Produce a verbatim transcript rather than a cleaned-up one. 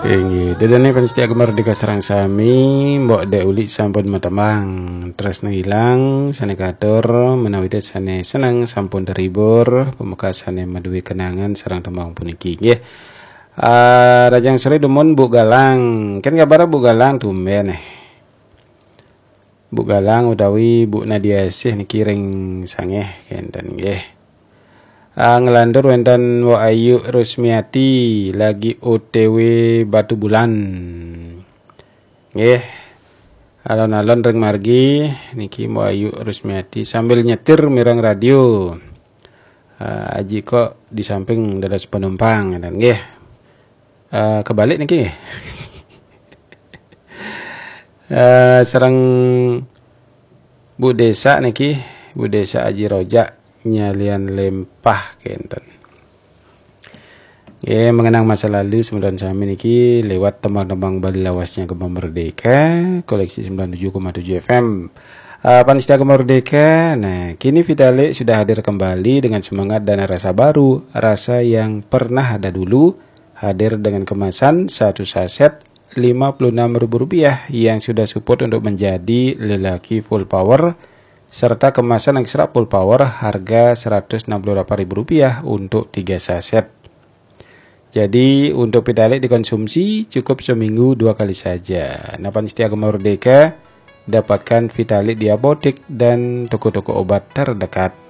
Inggih, ida dané pamiarsa Gema Merdeka sareng sami, Mbok Dék Ulik sampun matembang. Tresna ilang, sané katur, menawi sane seneng sampun terhibur, pamekasane maduwe kenangan sareng tembang puniki, nggih. Ah, rahajeng sore dumun Bu Galang. Ken kabar Bu Galang tumben eh. Bu Galang utawi Bu Nadia Sih niki ring sangeh kenten nggih. Ah, ngelantur wenten Mbok Ayu Rusmiati lagi O T W Batubulan. Nggih. Alon-alon ring margi niki Mbok Ayu Rusmiati sambil nyetir mireng radio. Ah, aji kok di samping dados penumpang ngeten nggih. Eh, kebalik niki nggih. Eh, sareng Bu Desa niki, Bu Desa Aji Rojak nyalian lempah kenten. Nggih, mengenang masa lalu semeton sami niki lewat tembang-tembang Bali lawasnya Gema Merdeka, koleksi sembilan tujuh koma tujuh F M. Eh, pamiarsa Gema Merdeka, nah kini Vitalik sudah hadir kembali dengan semangat dan rasa baru, rasa yang pernah ada dulu, hadir dengan kemasan satu saset lima puluh enam ribu rupiah yang sudah support untuk menjadi lelaki full power, serta kemasan ekstra full power harga seratus enam puluh delapan ribu rupiah untuk tiga saset. Jadi, untuk Vitalik dikonsumsi cukup seminggu dua kali saja. Nah, pamiarsa Gema Merdeka, dapatkan Vitalik di apotek dan toko-toko obat terdekat.